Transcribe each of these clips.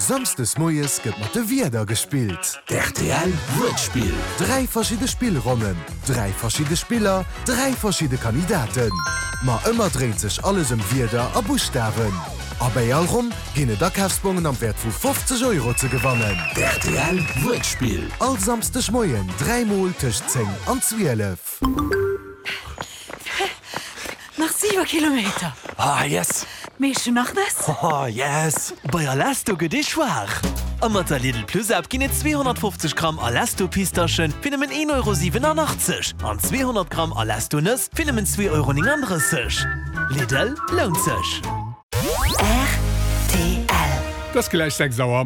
Samsdes moies gëtt mat de Wierder gespillt. D'RTL Wuertspill. 3 verschidde Spillronnen, 3 verschidde Spiller, 3 verschidde Kandidaten. Ma ëmmer dréint sech alles ëm Wierder a Buschtawen. A bäi all Ronn ginn et Akafsbongen am Wäert vu 50 Euro ze gewannen. D'RTL Wuertspill. All Samsdeg Moien 3 mol tëscht 10 an 12. Nach 7 Kilometer. Ah yes! Meescht du nach Nëss? Oh yes! Bei Alesto gëtt ee schwaach! A mat der Lidl Plus App ginn et 250 Gramm Alesto Pistaschen fir nëmmen 1,87 Euro an 200 Gramm Alesto Nëss fir nëmmen 2,39 Euro. Lidl, lount sech! Rtl. Et ass gläich 6 Auer.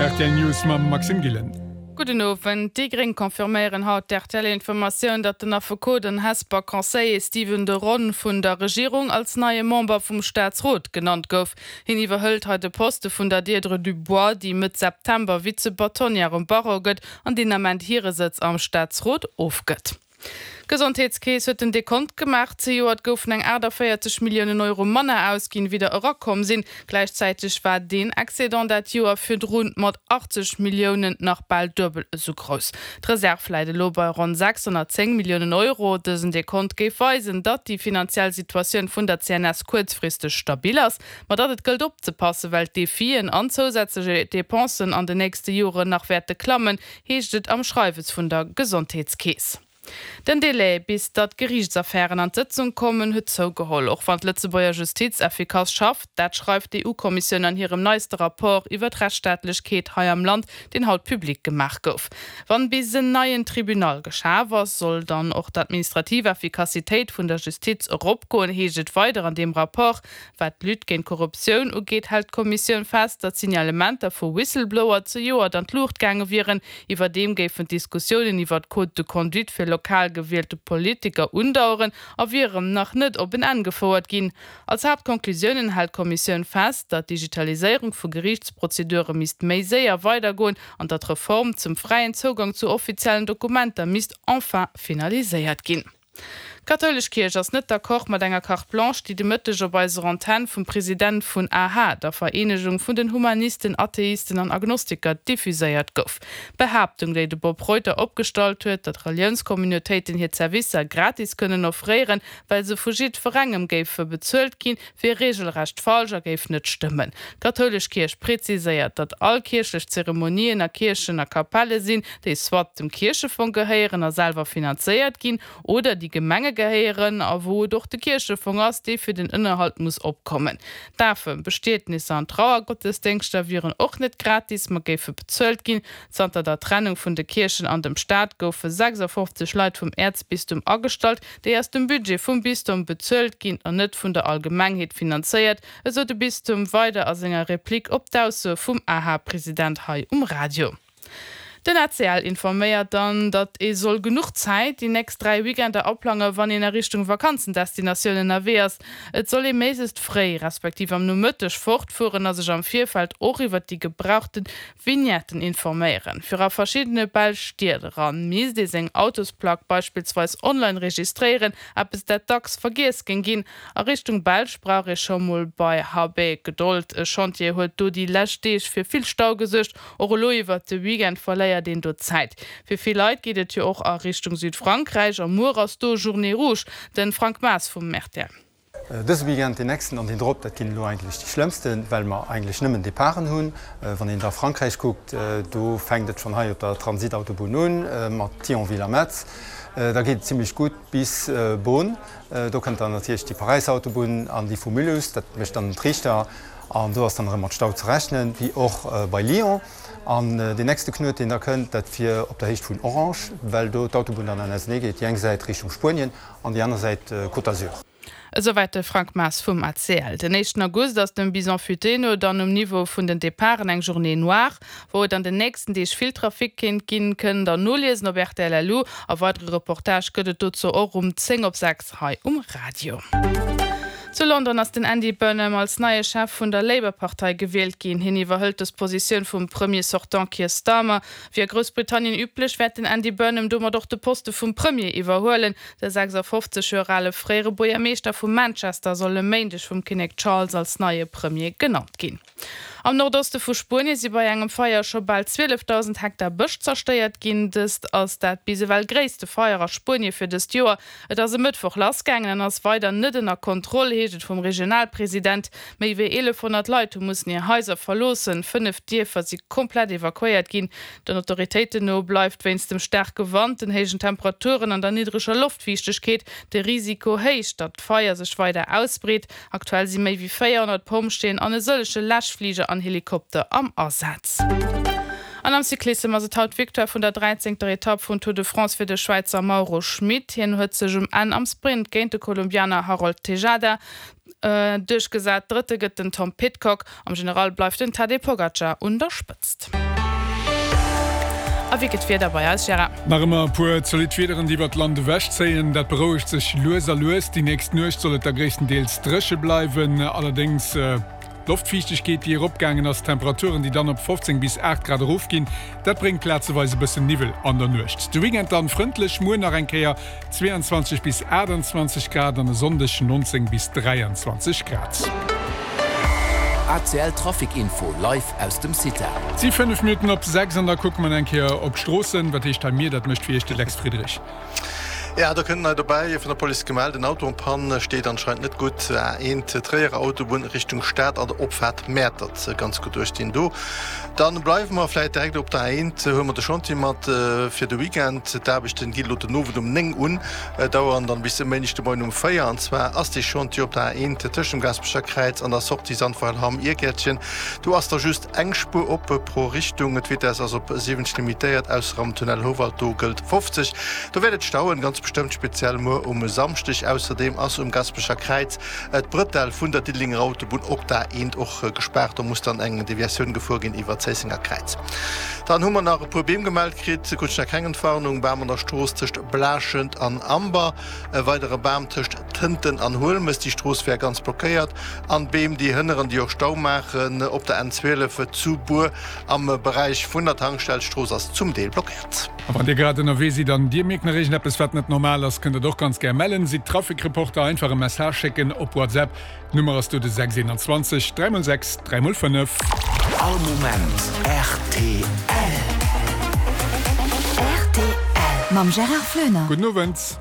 Rtl News mam Maxime Gillen. Gudden Owend. Déi Gréng confirméieren haut d'RTL-Informatioun, datt den Affekot an Hesper Conseiller Stephen de Ron vun der Regierung als neie Member vum Staatsrot genannt gouf. Hien iwwerhëlt hei de Poste vun der Deirdre Dubois, déi Mëtt September Vize-Bâtonnière um Barreau gëtt an deen Ament hire Sëtz am Staatsrot ofgëtt. D'Gesondheetskeess huet den Dekont gemaach. Zejoert goufen eng 48 Milliounen Euro manner ausginn, wéi der erakomm sinn. Gläichzäiteg war deen Excédent dat Joer virdrun mat 80 Milliounen nach bal duebel esou grouss. D'Reserv läit elo bei ronn 610 Milliounen Euro. Dësen Dekont géif weisen, datt déi finanziell Situatioun vun der CNS kuerzfristeg stabil ass, ma datt et gëllt opzepassen, well d'Defien an zousätzlech Depensen an den nächste Joren nach wäerte klammen, heescht et am Schreiwes vun der Gesondheetskeess. Den Delai, bis datt Geriichtsaffären an d'Sëtzung kommen, huet zougeholl, och wann d'Lëtzebuerger Justiz effikass schafft. Dat schreift d'EU-Kommissioun an hirem neiste Rapport iwwer d'Rechtsstaatlechkeet hei am Land, deen haut public gemaach gouf. Wann bis en neien Tribunal geschaf ass, soll dann och d'administrativ Effikassitéit vun der Justiz eropgoen, heescht et weider an deem Rapport. Wat d'Lutte géint d'Korruptioun ugeet, hält d'Kommissioun fest, datt d'Signalementer vu Whistleblower zejoert an d'Luucht gaange wieren. Iwwerdeem géifen d'Diskussiounen iwwer d'Code de conduite fir lokal gewielte Politiker undaueren a wieren nach net op en Enn gefouert ginn. Als Haaptkonklusiounen hält d'Kommissioun fest, datt d'Digitaliséierung vu Geriichtsprozedure misst méi séier weidergoen an datt d'Reform zum fräien Zougang zu offiziellen Dokumenter misst enfin finaliséiert ginn. D'kathoulesch Kierch ass net d'accord mat enger Carte blanche, déi de Mëtteg op eiser Antenn vum President vun aha, der Vereenegung vun den Humanisten, Atheisten an Agnostiker, diffuséiert gouf. D'Behaaptung, déi de Bob Reuter opgestallt huet, datt Reliounscommunautéiten hir Zerwisser gratis kënnen offréieren, well se vu jiddwerengem géife bezuelt ginn, wier reegelrecht falsch a géif net stëmmen. D'kathoulesch Kierch preziséiert, datt all kierchlech Zeremonien a Kierchen a Kapelle sinn, déi soit dem Kierchefong gehéieren a selwer finanzéiert ginn, oder déi Gemenge gehéieren a wou et och de Kierchefong ass, dee fir den Ënnerhalt muss opkommen. Dafen, Bestietnisser an Trauergottesdéngschter wieren och net gratis, ma géife bezuelt ginn. Zanter der Trennung vun de Kierchen an dem Staat goufe 56 Leit vum Äerzbistum agestallt, déi aus dem Budget vum Bistum bezuelt ginn an net vun der Allgemengheet finanzéiert, esou de Bistum weider a senger Replik op d'Aussoe vum AHA-President hei um Radio. Den ACL informéiert dann, datt ee soll genuch Zäit déi nächst 3 Weekender aplange wann een a Richtung Vakanzendestinatioun ënnerwee ass. Et soll ee méiglechst fréi, respektiv am Nomëtteg fortfueren a sech am Virfeld och iwwer déi gebrauchte Vignetten informéieren. Fir a verschiddene belsch Stied eran, misst ee seng Autosplack beispillsweis online registréieren, eppes dat dacks vergiess géing ginn. A Richtung Belsch brauch ee scho mol bei HB Gedold. E Chantier huet do déi lescht Deeg fir vill Stau gesuergt. Och elo iwwert de Weekend verléiert een do Zäit. Fir vill Leit geet et jo och a Richtung Südfrankräich a muer ass do Journée rouge. De Frank Maas vum rtl. Dëse Weekend, deen nächsten an deen drop, dat ginn elo eigentlech déi schlëmmsten, well mer eigentlech nëmmen Departen hunn. Wann een da Frankräich kuckt, do fänkt et schonn hei op der Transitautobunn un, mat Thionville a Metz. Da geet et zimmlech gutt bis Beaune. Do kënnt dann natierlech déi Paräisautobunn an déi vu Mulhouse, dat mécht dann den Triichter. An do ass dann erëm mat Stau ze rechnen, wéi och bei Lyon. An deen nächste Knuet, deen da kënnt, dat wier op der Héicht vun Orange, well do d'Autobunn dann an ausenee geet, déi eng Säit Richtung Spuenien an déi aner Säit Côte d'Azur. Esouwäit de Frank Maas vum ACL. Den éischten August ass dem Bison Futé no dann um Niveau vun den Departen eng Journée noire, wou et an den nächsten Deeg vill Trafic kéint ginn. Kënnt der noliesen op rtl.lu. A weidere Reportage gëtt et dozou och um 10 op 6 hei um Radio. Zu London ass den Andy Burnham als neie Chef vun der Labour-Partei gewielt ginn. Hien iwwerhëlt dës Positioun vum Premier sortant Keir Starmer. Wéi a Groussbritannien üblech, wäert den Andy Burnham domat och de Poste vum Premier iwwerhuelen. De 56 Joer ale fréiere Buergermeeschter vu Manchester soll e Méindeg vum Kinnek Charles als neie Premier genannt ginn. Am Nordoste vu Spuenie si bei engem Feier scho bal 12.000 Hektar Bësch zerstéiert ginn. Dëst ass dat bis ewell gréisste Feier a Spuenie fir dëst Joer. Et ass e Mëttwoch lassgaangen an ass weider net ënner Kontroll, heescht et vum Regionalpresident. Méi wéi 1.100 Leit hu mussen hir Haiser verloossen, 5 Dierfer si komplett evakuéiert ginn. Den Autoritéiten no bleift wéinst dem staarke Wand, den héijen Temperaturen an der niddreger Loftfiichtegkeet de Risiko héich, datt d'Feier sech weider ausbreet. Aktuell si méi wéi 400 Pompjeeën an e sëllege Läschfliger an Helikopter am Asaz. An am Cyclissem ass et haut d'Victoire vun der dräizéngter Etapp vum Tour de France fir de Schwäizer Mauro Schmit. Hien huet sech um Enn am Sprint géint de Kolumbianer Harold Tejada duerchgesat. Drëtte gëtt den Tom Pidcock. Am General bleift den Tadej Pogacar un der Spëtzt. A wéi gëtt d'Wieder bei eis, Gérard? Nach ëmmer e puer zolidd Wiederen, déi iwwert d'Land ewechzéien. Dat berouegt sech lues a lues. Déi nächst Nuecht soll et da gréisstendeels dréche bleiwen, allerdéngs d'Loftfiichtegkeet, déi eropgaangen ass, d'Temperaturen, déi dann op 15 bis 8 Grad erofginn, dat bréngt plazeweis e bëssen Niwwel an der Nuecht. De Weekend dann frëndlech, muer nach eng Kéier 22 bis 28 Grad an e Sonndeg 19 bis 23 Grad. ACL Trafic Info live aus dem CITA. Et si 5 Minutten op 6 an da kucke mer eng Kéier op d'Stroossen. Wat heescht hei mir? Dat mécht fir Iech de Lex Friedrich. Ja, do kënnt nei dobäi, vun der Police gemellt, en Auto en panne, steet anscheinend net gutt. A1 Tréierer Autobunn Richtung Stad an der Opfaart Mäertert, ganz gutt duerchstinn do. Dann bleiwe mer vläit direkt op der A1, huele mer de Chantier mat fir de Weekend. D'Aarbechten ginn elo den Owend um 9 un, daueren dann bis e Méindeg de Moien um 4. An zwar ass dee Chantier op der A1 tëscht dem Gaasperecher Kräiz an der Sortie Sandweiler-Hamm Irgäertchen. Do ass da just eng Spuer op pro Richtung. D'Vitess ass op 70 limitéiert, ausser am Tunnel Houwald, do gëllt 50. Do wäert et stauen, ganz bestëmmt, speziell muer um Samschdeg. Ausserdeem ass um Gasperecher Kräiz d'Brëtell vun der Diddelenger Autobunn op der A1 och gespaart. Do muss dann eng Deviatioun gefuer ginn iwwer d'Zéissenger Kräiz. Dann hu mer nach e puer Beem gemellt kritt. Krut ech nach keng Entwarnung. Bam an der Strooss tëscht Blaaschent an Amber. E weidere Bam tëscht Tënten an Huelmes. Déi Strooss wär ganz blockéiert. An Beem, déi hënneren, déi och Stau maachen op der N12 zu Bur am Beräich vun der Tankstell. D'Strooss ass zum Deel blockéiert. A wann Dir grad ënnerwee sidd an Dir mierkt nach iergendeppes wat net normal ass, kënnt Der et och ganz gär mellen. Sidd Trafikreporter, einfach e Message schécken op WhatsApp. D'Nummer ass do de 6 21 3 x 6 3 x 5. All Moment rtl. Rtl mam Gérard Floener. Gudden Owend.